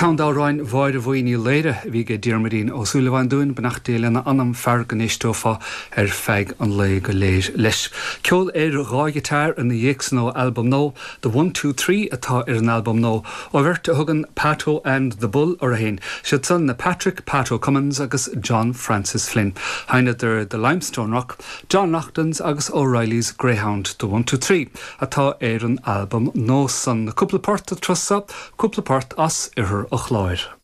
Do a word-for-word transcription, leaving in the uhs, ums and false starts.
Ceann d'amhráin Mháire Bhuí Ní Laoire a bhí ag Diarmuidín Ó Súilleabháin dúinn beannacht Dé lena anam fear go n-éisteofá ar feadh an lae go léir leis. Ceol ar dhá ghiotár ina dhiaidh san ó albam nua, The One Two Three atá ar an albam nua ó bheirt a thugann Pato and the Bull orthu féin. Siad san na Patrick Pato Cummins agus John Francis Flynn. Sheinneadar the Limestone Rock, John Loughlin's agus O'Reilly's Greyhound The One Two Three atá ar an albam nua san. Cúpla port an turas seo, cúpla port as oirthear an Chláir.